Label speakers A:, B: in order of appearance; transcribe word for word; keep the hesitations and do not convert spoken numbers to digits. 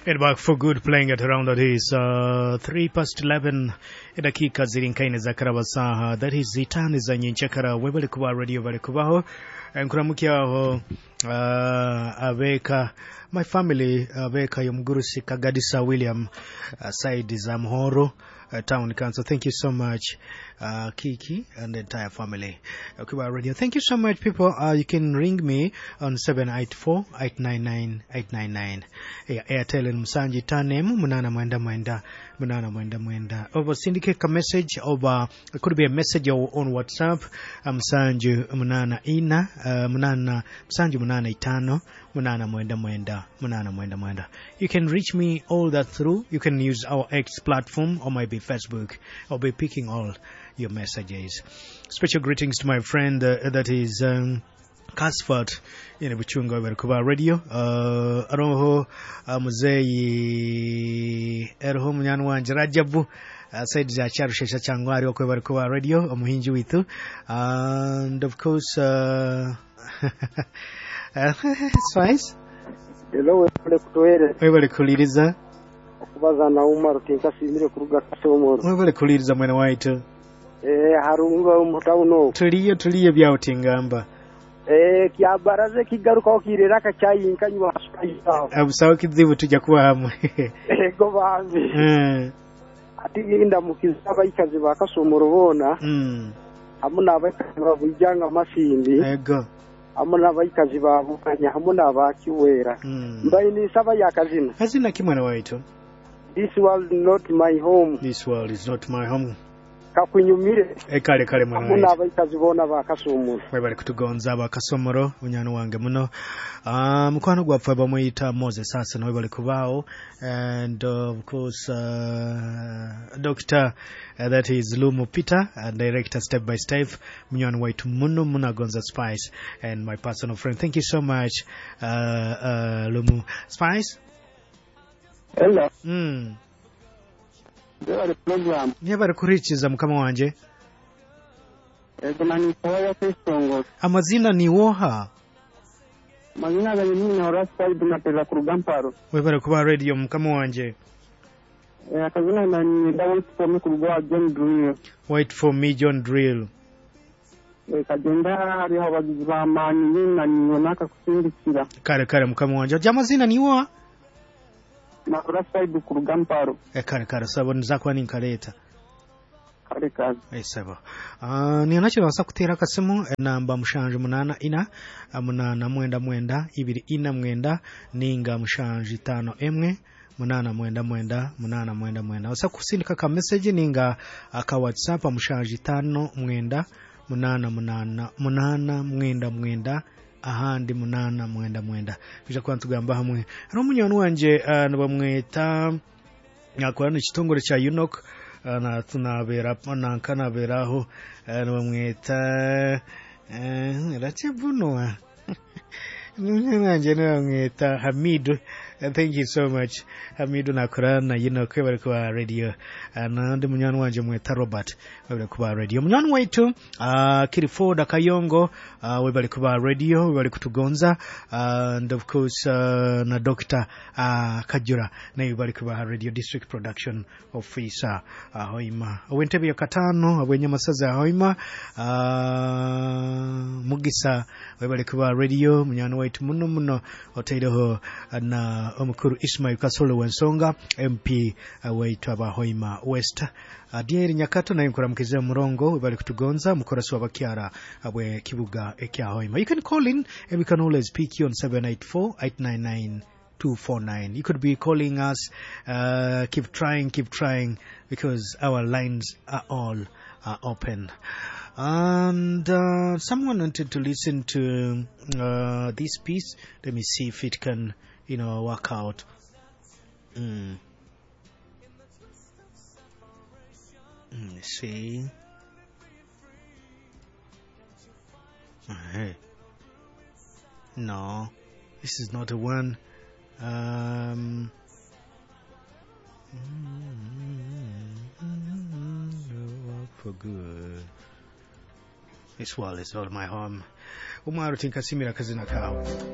A: And back for good playing at around that is uh, three past eleven edakika ziri nkaine za karabasaha that is itani za nyenchakara webali kuba radio bali kubaho enkuramukyaho uh, abeka my family abeka yomugurusi Kagadisa William uh, side za Muhoro uh, Town Council. Thank you so much, uh, Kiki and the entire family. Uh, Kuba Radio. Thank you so much, people. Uh, you can ring me on seven eight four, eight nine nine, eight nine nine. Yeah, Airtel and Musanji Tanem, Munana Mwenda Mwenda, Munana Mwenda Mwenda. Over syndicate a message over, it could be a message or on WhatsApp. Musanji Munana Ina, uh, Munana, Musanji Munana Itano, Munana Mwenda Mwenda, Munana Mwenda Mwenda. You can reach me all that through. You can use our X platform or maybe Facebook. I'll be picking all your messages. Special greetings to my friend uh, that is um, Casford in Buchunga Kuba Radio. Uh, aroho uh, muzeyi eroho munyanu wanje Rajabu uh, said za charushesha changwari okwe Kuba Radio omuhinji witu, and of course uh, Spice.
B: Hello, webale kutuweereza.
A: Webale kuliriza.
B: Okubaza na Umar tinkasimire kuruga Kasomoro.
A: Webale kuliriza mwene waitu.
B: Eh, harunga omutawuno.
A: Tuliyo tuliyo byawutingamba.
B: Eh, kyabaraze kigarukaho kirera kacyayinka hasukayo.
A: Abusawo kizibu tujja kuba hamwe.
B: Ego bambi.
A: Eh.
B: Ati yinda mukiza abayikazi ba Kasomoro bona.
A: Mm.
B: Hamwe n'abayikazi babujanga masindi.
A: Ego.
B: Hamwe n'abayikazi babukanya hamwe n'abakiwera.
A: Mm.
B: Mbaye nisaba yakazina.
A: Kazina kimwana waitu.
B: This world is not my home.
A: This world is not my home.
B: Kakunyumire.
A: E kale kale mwana
B: Hamwe
A: waitu.
B: n'abayikazi bona ba Kasomoro.
A: Webale kutugonza aba Kasomoro munyano wange muno. Uh, mukwano gwaffe bamuyita Moses Hassan webale kubaawo, and uh, of course uh, Doctor uh, that is Lumu Peter, uh, director Step by Step, munywani waitu muno munagonza Spice and my personal friend. Thank you so much, uh, uh, Lumu Spice.
B: Hello.
A: Mm.
B: Webale program.
A: Nyebale kurichiza mukama wanje.
B: Ego nani sawa Kristongo.
A: Amazina ni woha.
B: Mazina gange ni Horace na kuruga Mparo.
A: Webale kuba radio mukama wanje.
B: Eh, akazina nani wait for me kuruga John Drill.
A: Wait for me John Drill.
B: Eh, kagenda hariho abagizi b'amaani nani naka kusindikira.
A: Kale kale mukama wanje. Ojja amazina ni woha?
B: Na Horace kuruga Mparo.
A: E kale kale sabo nzakuba ninkaleta.
B: Kale kale.
A: Esebo. Uh, nionakyo basa kuteera akasimu enamba mushanju munana ina munana mwenda mwenda ibiri ina mwenda ninga mushanju itano emwe munana mwenda mwenda munana mwenda mwenda. Osa kusindika ka message ninga aka WhatsApp mushanju itano mwenda munana munana munana mwenda mwenda ahandi munana mwenda mwenda. Bija kuba ntugamba hamwe. Hariho munyoni wanje uh, nibamweta nyakora n'ekitongore kya UNOC na tunabera nankanaberaho nibamweta Ratebunwa nanje nibamweta Hamidu. Thank you so much Hamidu nakora na UNOC bari kuba radio, nandi munywani wanje mweta Robert bari kuba radio. Munywani waitu uh, Kirifoda Kayongo uh, we bari kuba radio, we bari kutugonza, uh, and of course uh, na Doctor uh, Kajura naye bari kuba radio, district production officer Ahoima uh, ow'entebe ya katano abwenyamasaza Ahoima uh, Mugisa we bari kuba radio munywani waitu muno muno otaireho na omukuru Ismail Kasolo wensonga M P uh, waitu abahoima West. Adieri Nyakato naye nkuramukizira murongo bali kutugonza mukorasi wabakyara abwe kibuga ekya Hoima. You can call in and we can always pick you on seven eight four, eight nine nine, two four nine. You could be calling us. Uh, keep trying, keep trying, because our lines are all uh, open. And uh, someone wanted to listen to uh, this piece. Let me see if it can, you know, work out. Mm. Let's see. Hey. No, this is not the one. Um, for good. This world is not my home. Umaru tinkasimira kazina kao.